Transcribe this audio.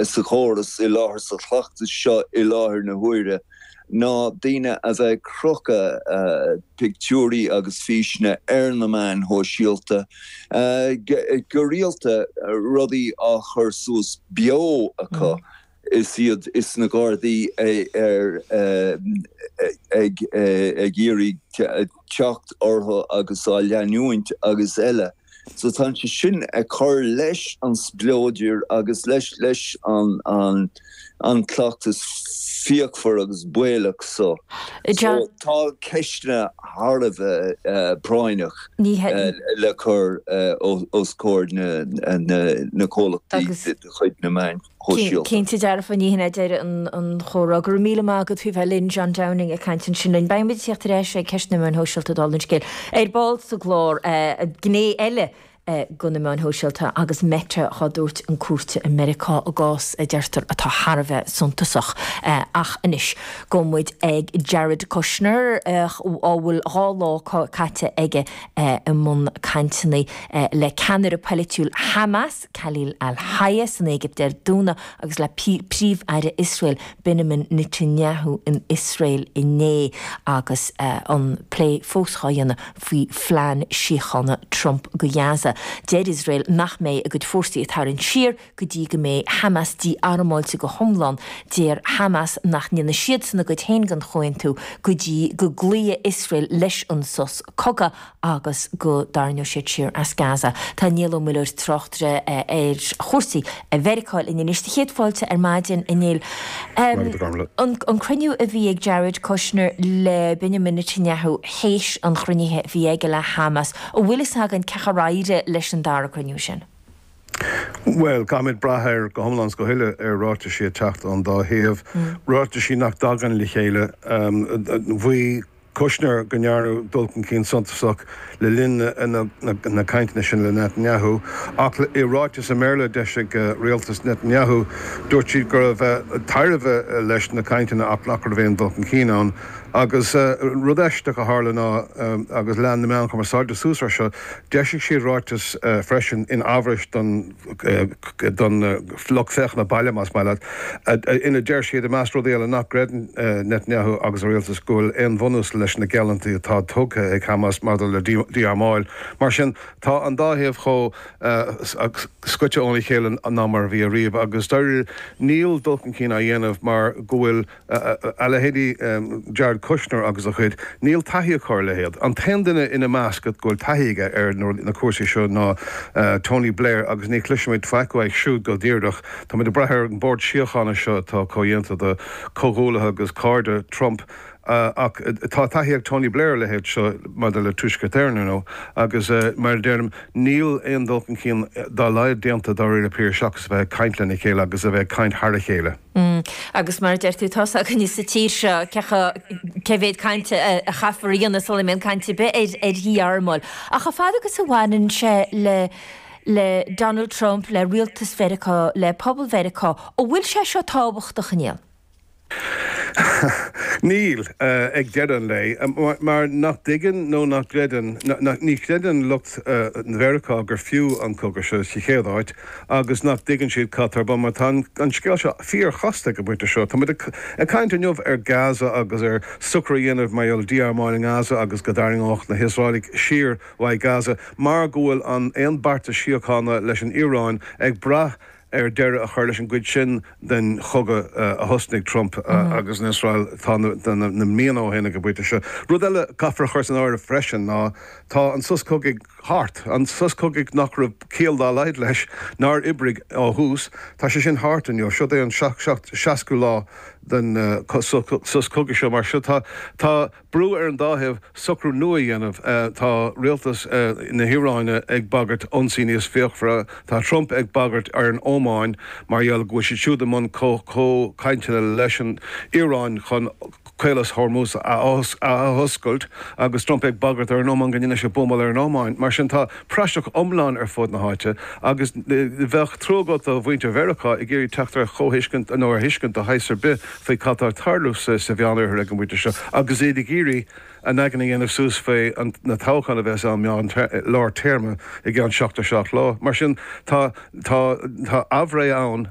sa chóras i láthair, sa chleachtas seo i láthair na huaire, ná daoine a bheith ag crochadh pictiúirí agus físeanna ar na meáin shóisialta go rialta, rudaí á chur suas beo acu is iad is na Gardaí ar ag iarraidh teacht orthu agus á leanúint agus eile. So tá sé sin ag cur leis an spleodar agus leis leis an an an cleachtas fíochmhar agus baolach so. So tá ceisteanna thar a bheith práinneach le cur os comhair na na comhlachtaí de chuid na meáin. shóisialta. Cinnte dearfa, ní hin é deireadh an chomhrá. Go raibh míle maith agat faoi bheith linn, John Downing ag caint ansin linn. Beidh muid ag tíocht ar ais ag ceist na meáin shóisialta dála an scéil. Ar ball sa gclár, gné eile de na meáin shóisialta agus Meta dhá dtabhairt chun cúirte i Meiriceá i gcás a deirtear atá thar a bheith suntasach. Ach anois, gabhfaidh muid ag Jared Kushner a bhfuil 2 lá caite aige i mbun cainteanna le ceannaire polaitiúil Hamas, Khalil al-Hayya san Éigipt ar Domhnach agus le Príomh-Aire Iosrael Benjamin Netanyahu in Iosrael inné agus an plé fós dhá dhéanamh faoi phlean síochána Trump go Gaza. Deir Iosrael nach mbeidh a gcuid fórsaí ag tarraingt siar go dtí go mbeidh Hamas dí-armáilte go hiomlán. Deir Hamas nach ndéanfaidh siadsan a gcuid féin den chomhaontú go dtí go gcloífidh Iosrael leis an sos cogaidh agus go dtarraingeoidh siad siar as Gaza. Tá Niall Ó Muilleoir, tráchtaire ar chúrsaí i Mheiriceá linn anois. Do chéad fáilte ar maidin, a Néill. An cruinniú a bhí ag Jared Kushner le Benjamin Netanyahu théis an chruinnithe a bhí aige le Hamas, an bhfuil fhios againn cén chaoi ar éirigh leis an dara cruinniú sin? Bhuel, caithfimid brath ar, go hiomlán is go huile, ar ráitisí ag teacht ón dá thaobh, ráitisí nach dtagann le chéile. Mhaígh Kushner go ndearnadh dul chun cinn suntasach le linn na cainteanna sin le Netanyahu, ach i ráiteas i mBéarla a d'eisigh rialtas Netanyahu, dúirt siad go raibh tairbhe leis na cainteanna ach nach raibh aon dul chun cinn ann. Agus rud aisteach a tharla ná, agus lean na meáin chumarsáide suas air seo, d'eisigh siad ráiteas freisin in ábhrais don don lucht féachana baile, más maith leat, ina deir siad, i measc rudaí eile, nach gcreideann Netanyahu agus a rialtas go bhfuil aon bhunús leis na geallúintí atá tugtha ag Hamas maidir le dí-armáil. Mar sin, tá an dá thaobh chomh scoite óna chéile ná mar a bhí ariamh agus dáiríre níl dul chun cinn á dhéanamh mar go bhfuil A leithéidí Jared Kushner agus a chuid, níl taithí acu ar a leithéid. An t-aon duine ina measc go bhfuil taithí aige ar na cúrsaí seo ná Tony Blair agus ní chloisfimid faic uaidh siúd go díreach. Táimid ag brath ar an mBord Síochána seo atá comhdhéanta de chomhghuaillithe agus cairde Trump ach tá taithí ag Tony Blair ar a leithéid seo maidir le Tuaisceart Éireann, ar ndóigh, agus mar a deirim, níl aon dul chun cinn dá laghad déanta dáiríre píre seachas a bheith ag caint lena chéile agus a bheith ag caint thar a chéile. Agus mar a deir tú, tá's againne sa tír seo cé mhéad cainte a chaithfear a dhéanamh sula mbíonn caint ar bith ar dhí-armáil. Ach chomh fada agus a bhaineann sé le le Donald Trump, le rialtas Mheiriceá, le pobal Mheiriceá, an bhfuil sé seo tábhachtach, a Néill? Níl, ag deireadh an lae, mar nach dtuigeann nó nach gcreideann, ní chreideann lucht Mheiriceá gur fiú an cogadh seo sa chéad áit, agus nach dtuigeann siad cad tá ar bun, mar tá an scéal seo fíorchasta ag an bpointe seo. Táimid ag caint inniu ar Gaza agus ar socrú a dhéanamh mar gheall ar dí-armáil i nGaza agus go dtarraingeodh na hIosraelaigh siar uaidh Gaza mar go bhfuil an aon beartas síochána leis an Iaráin ag brath ar deireadh a chur leis an gcuid sin den chogadh a thosnaigh Trump agus an Iosrael tá na míonna ó shin ag an bpointe seo. Rud eile a caithfear a chur san áireamh freisin ná tá an sos cogaidh thart. An sos cogaidh nach raibh ciall dá laghad leis, nár oibrigh ó thús, tá sé sin thart inniu. Siod é an 60ú lá den sos cogaidh seo. Mar seo tá tá brú ar an dá thaobh socrú nua a dhéanamh. Tá rialtas na hIaráine ag bagairt ionsaí níos fíochmhaire. Tá Trump ag bagairt ar an Ómáin mar gheall go bhfuil siad siúd i mbun comhchainteanna leis an Iaráin chun Caolas Hormuz a athoscailt agus Trump ag bagairt ar an Ómáin go ndéanfaidh sé buamáil ar an Ómáin. Mar sin tá praiseach iomlán ar fud na háite agus bheadh trua agat do mhuintir Mheiriceá ag iarraidh teacht ar chomhthuiscint nó ar thuiscint de shaghas ar bith faoi cad tá ag tarlú sa Mheánoirthear ag an bpointe seo agus iad ag iarraidh a n-aigne a dhéanamh suas faoi na toghcháin a bheas ann meán lár téarma i gceann 77 lá. Mar sin tá tá tá aimhréidh ann.